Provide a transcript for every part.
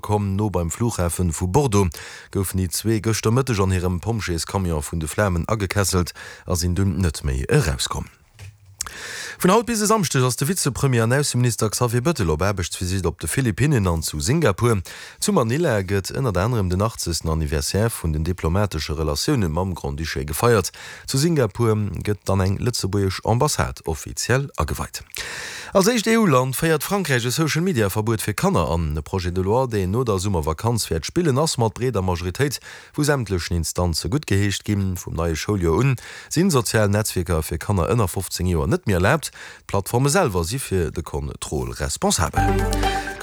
Komm no beim Flughafen vu Bordeaux goufen déi zwee gëschter Mëtteg an hirem Pompjeescamion vun de Flamen agekesselt a sinn dunn net méi erauskomm. Vun haut bis e Samschdeg ass de Vizepremier an Ausseminister Xavier Bettel op Aarbechtsvisitt op de Philippinnen an zu Singapur. Zu Manila gëtt ënnert anerem den 80. Anniversaire vun den diplomatesche Relatioune mam Grand-Duché gefeiert. Zu Singapur gëtt dann eng lëtzebuergesch Ambassade offiziell ageweit. Als éischt EU-Land féiert Frankräich e Social-Media-Verbuet fir Kanner an. E Projet de loi, deen no der Summervakanz wäert spillen, ass mat breeder Majoritéit vu sämtlechen Instanze guttgeheescht ginn. Vum neie Schouljoer un sinn sozial Netzwierker fir Kanner ënner 15 Joer net méi erlaabt. D'Plattforme selwer si fir de Contrôle responsabel.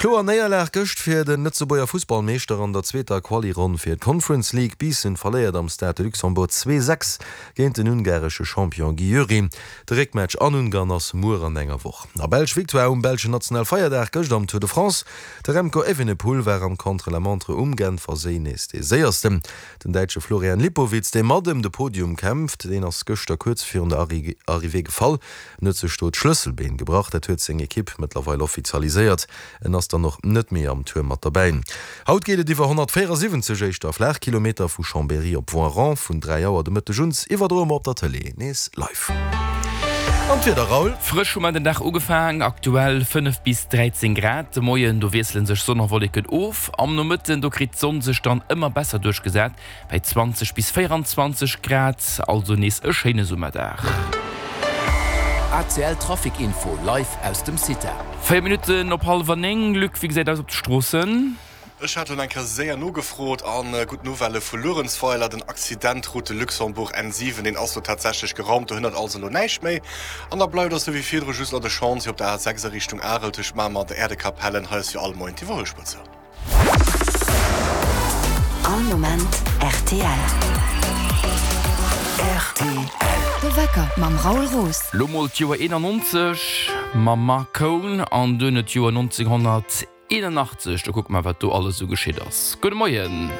Kloer Néierlag gëscht fir de Lëtzebuerger Fussballmeeschter an der zweeter Quali-Ronn fir d'Conference League. Biissen verléiert am Stade de Luxembourg 2, 6 géint den ungaresche Champion Győri. De Réckmatch an Ungarn ass muer an enger Woch. A Belsch Victoire um belschen Nationalfeierdag gëscht am Tour de France. De Remco Evenepoel war am Contre-la-montre um Genferséi nees dee Séiersten. Den Däitsche Florian Lipowitz, dee mat ëm de Podium kämpft, deen ass gëschter kuerz virun der Arrivée gefall. En huet sech do d'Schlësselbeen gebrach, dat huet seng Ekipp mëttlerweil offizialiséiert. En ass dann och net méi am Tour mat derbäi. Haut geet et iwwer 174 éischter Flaachkilometer vu Chambéry op Voiron. Vun 3 Auer de Mëtteg un iwwerdroe mer op der Tëlee nees live. An d'Wieder, Raoul? Frësch hu mer den Dag ugefaang, aktuell 5 bis 13 Grad. De Moien, do wiessele sech Sonn a Wolleken of. Am Nomëtten, do kritt d'Sonn sech dann ëmmer besser duerchgesat. Bei 20 bis 24 Grad, also nees e schéine Summerdag. ACL Trafic Info live aus dem CITA. 4 Minutten op hallwer 9. Luc, wéi gesäit aus op de Stroossen? Ech hat elo eng Kéier séier nogefrot an gutt Nouvellë vu Luerenzweiler, Den Accident Route de Luxembourg N7, deen ass lo tatsächlech geraumt, do hënnert also elo näischt méi. An da bleift eis ewéi virdru just nach de Chantier op der A6 a Richtung Arel tëscht Mamer an der Äerdekapellen. Hei ass wéi all Moien d'Iwwerhuelspuer zou. All Moment rtl. Rtl. De Wecker mam Raoul Roos. Lo mol d'Joer 91 mam Marc Kohn an duerno d'Joer 1981. Do kucke mer wat do alles esou geschitt ass. Gudde Moien.